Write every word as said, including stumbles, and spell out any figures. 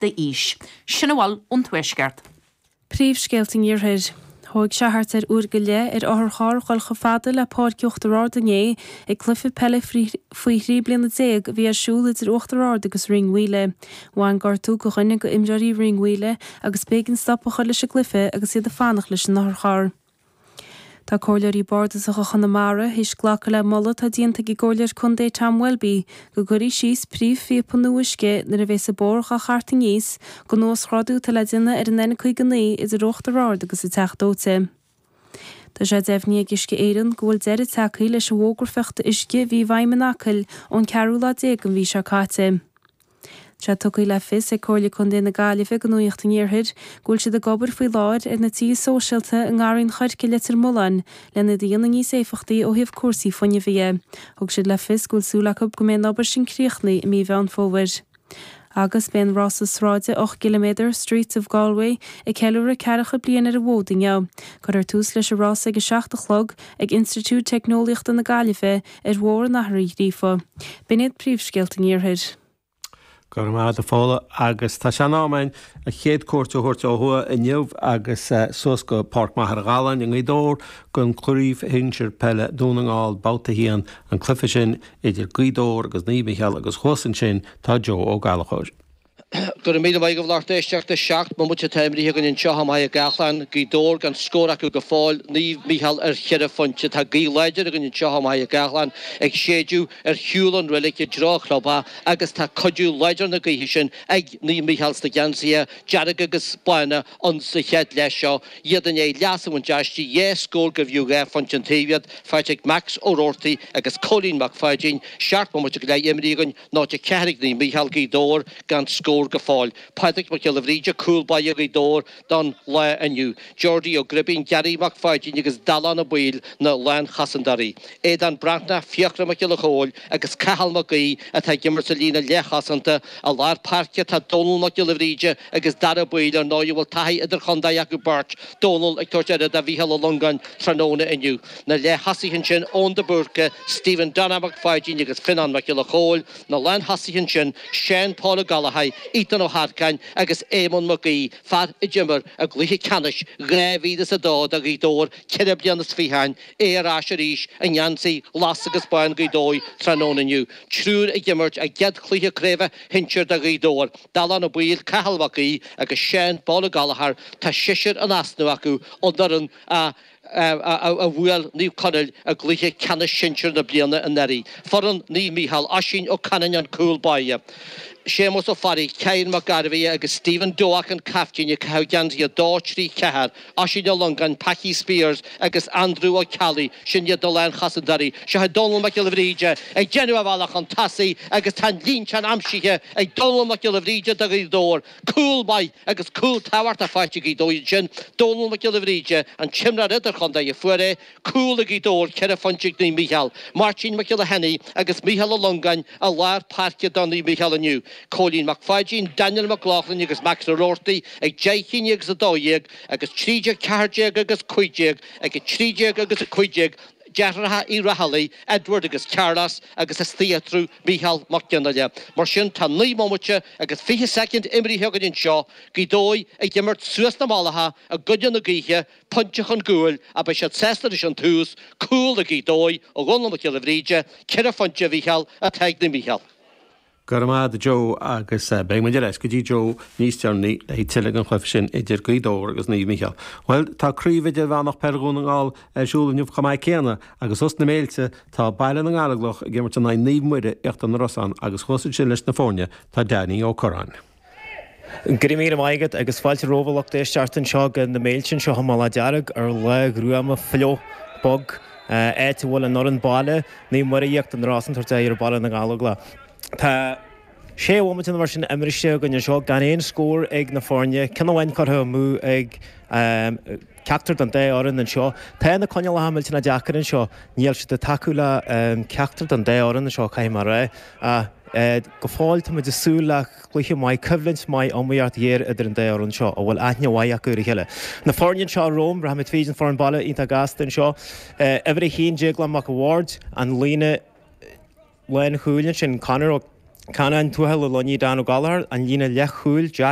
d'aois. Sin a bhfuil ón Tuaisceart. Príomhscéalta an Iarthair. Thóg sé thart ar uair go leith ar otharcharr dhul chomh fada le Páirc Uachtar Ard inné ag cluiche peile faoi thrí bliana déag a bhí ar siúl idir Uachtar Ard agus Rinn Mhaoile. Bhain gortú do dhuine d'imreoirí Rinn Mhaoile agus b'éigean stop a chur leis an gcluiche agus iad ag fanacht leis an otharcharr. Tá comhairleoirí bardasacha Chonamara théis glacadh le moladh atá déanta ag an gcomhairleoir contae Tom Welby go gcuirfí síos príomhphíopa nua uisce nuair a bheas an bóthar dhá chart aníos don uasghrádú atá le déanamh ar an N caoga naoi idir Uachtar Ard agus an Teach Dóite. Tá sé deimhnithe ag Uisce Éireann go bhfuil deireadh tagtha leis an bhfógra fiuchta uisce a bhí i bhfeidhm in Acaill ón ceathrú lá déag den mhí seo caite. Tá tugtha le fios ag Comhairle Contae na Gaillimhe do Nuacht an Iarthair go bhfuil siad ag obair faoi láthair ar na tithe sóisialta i nGarraí an Choirce Leitir Mealláin lena dhéanamh níos éifeachtaí ó thaobh cúrsaí fuinnimh dhe. Thug siad le fios go bhfuil súil acu go mbeidh an obair sin críochnaithe i mí Mheán Fómhair. Agus beidh an rása sráide ocht gciliméadar Streets of Galway ag ceiliúradh ceathracha bliain ar an bhfód inniu. Cuirfear tús leis an rás ag a seacht a chlog ag Institiúid Teicneolaíochta na Gaillimhe ar Bhóthar an Athar Uí Ghríofa. B'in iad príomhscéalta an Iarthair. Go raibh maith agat a Fódhla agus tá sé in am againn an chéad cuairt a thabhairt ó thuaidh inniu agus suas go Páirc Machaire Galláin i nGaoth Dobhair don Chraobh Shinsir Peile Dún na nGall babhta a haon an cluiche sin idir Gaoth Dobhair agus Naomh Micheál agus thuas ansin tá Joe Ó Gallchóir. Go raibh míle maith agat a lucht éisteachta seacht mbomaite atá imrithe againn anseo i Machaire Gathlán, Gaoth Dobhair gan scór acu go fóill, Naomh Micheál ar cheithre phointe. Tá gaoth láidir againn anseo i Machaire Gathlán ag séideadh ar shiúl ón reilig i dtreo an chlubtheach agus tá cuidiú láidir na gaoithe sin ag Naomh Micheál sna geansaithe dearga agus bána ann sa chéad leath seo. Iad i ndiaidh leas a bhaint aisti, dhá scór gurbh fhiú dhá phointe an taobh iad, faighte ag Max Ó Roarty agus Cóilín Mac Pháidín. Seacht mbomaite go leith imrithe againn, náid a ceathair ag Naomh Micheál, Gaoth Dobhair gan scór go fóill. Pádraig Mac Giolla Bhríde, cúl báire Ghaoth Dobhair don lá inniu. Geordie Ó Gribín, Gary Mac Pháidín agus Dallán Ó Baoill na lánchosantóirí. Aodán Breathnach, Fiachra Mac Giolla Chóill agus Cathal Mac Aoidh atá ag imirt sa líne leathchosanta. I lár páirce tá Dónal Mac Giolla Bhríde agus Dara Baoill, ar ndóigh a bhfuil taithí idirchontae acu beirt, Dónal ag tabhairt aire do Mhícheál Ó Longáin tráthnóna inniu. Na leath-thosaithe ansin, Eoin de Búrca, Stephen Donagh Mac Pháidín agus Fionnán Mac Giolla Chóill. Na lánthosaithe ansin, Seán Paul Ó Gallchóir, Ethan Ó hEarcáin agus Éamonn Mac Aoidh, fear a d'imir i gcluiche ceannais dhá mhíle is a dó do Ghaoth Dobhair ceithre bliana is fiche ó shin, é ar ais arís i ngeansaí glas agus bán Ghaoth Dobhair tráthnóna inniu. Triúr ag imirt a gcéad chluiche craoibhe shinsir do Ghaoth Dobhair, Dallán Ó Baoill, Cathal Mac Aoidh agus Seán Paul Ó Gallchóir, tá seisear in easnamh acu ón bhfoireann a a bhuail Naomh Conaill i gcluiche ceannais sinsir na bliana anuraidh. Foireann Naomh Mícheál, Oisín Ó Canainn an cúl báire, Séamus Ó Fearraigh, Cian Mac Gairbheith agus Stephen Doak an caiftín ag caitheamh geansaí a dó, trí, ceathair, Oisín Ó Longáin, Packie Spears agus Andrew Ó Ceallaigh, sin iad na lánchosantóirí. Seo é Dónal Mac Giolla Bhríde ag déanamh a bhealach chun tosaigh agus tá an líonteán aimsithe ag Dónal Mac Giolla Bhríde do Ghaoth Dobhair. Cúl maith agus cúl tábhachtach faighte ag Gaoth Dobhair ansin. Dónal Mac Giolla Bhríde, an t-imreoir idirchontae a fuair é. Cúl ag Gaoth Dobhair, ceithre phointe ag Naomh Mícheál. Máirtín Mac Giolla Sheanaigh agus Mícheál Ó Longáin i lár páirce do Naomh Mícheál inniu. Cóilín Mac Pháidín, Daniel Mac Lochlainn agus Max Ó Roarty ag deich i ndiaidh a dó dhéag agus trí déag, ceathair déag agus cúig déag ag a trí déag agus a cúig déag. Deartháireacha Uí Raghallaigh, Edward agus Carlos, agus istigh eatarthu Mícheál Mac Fhionnghaile. Mar sin, tá naoi mbomaite agus fiche soicind imrithe againn anseo, Gaoth Dobhair ag imirt suas na mullacha i gcoinne na gaoithe, pointe chun cúil, ach beidh siad sásta leis an tús, cúl ag Gaoth Dobhair ó Dhónal Mac Giolla Bhríde, ceithre phointe a Mhícheál atá ag Naomh Mícheál. Go raibh maith agat a Joe agus beidh muid ar ais go dtí Joe níos deireanaí le haghaidh tuilleadh den chluiche sin idir Gaoth Dobhair agus Naomh Mícheál. Bhuel, tá Craobh Idirmheánach Peile Dhún na nGall ar siúl inniu chomh maith céanna agus thuas sna Méilte tá Baile na nGallóglach ag imirt in aghaidh Naomh Muire, Íochtar na Rosann agus thuas ansin leis na foirne tá Danny Ó Curráin. Go raibh míle maith agat agus fáilte romhaibh a lucht éisteachta anseo go na Méilte anseo i mBealach Dearg ar lá ghruama fliuch bog, áit a bhfuil an fhoireann baile, Naomh Muire Íochtar na Rosann, ag tabhairt aghaidh ar Baile na nGallóglach. Tá sé bhomaite nó mar sin imrithe againn anseo gan aon scór ag na foirne, ceann amháin curtha amú ag ceachtar den dá fhoireann anseo. Tá na coinníollacha millteanach deacair anseo, níl siad ag tacú le ceachtar den dá fhoireann anseo, caithfidh mé a rá, ach go fóill tá muid ag súil le cluiche maith, coimhlint maith, iomaíocht ghéar idir an dá fhoireann seo a bhfuil aithne mhaith acu ar a chéile. Na foirne anseo romham, rachaimid tríd an foireann baile iontach gasta anseo. Uimhir a haon, Déaglán Mac a' Bhaird, an líne lánchúil ansin, Conor Ó Canán Tuathail Ó Loinigh Dan Ó Gallchóir, an líne leathchúil Jack